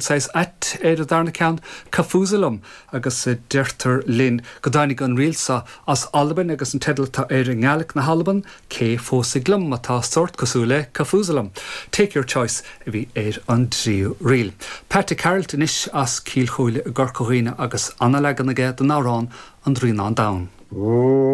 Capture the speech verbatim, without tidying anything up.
Saghas ait ar an darna ceann Cafusalum agus deirtear linn go dtáinig an ríl seo as Albain agus an teideal atá air i nGaeilge na hAlban cé phósfaidh liom atá sórt cosúil le Cafusalum. Take your choice a bhí ar an dtríú ríl. Pat Carroll anois as Cill Chóile i gCorca Dhuibhne agus an-leagan aige den amhrán an Droighneán Donn. Oh.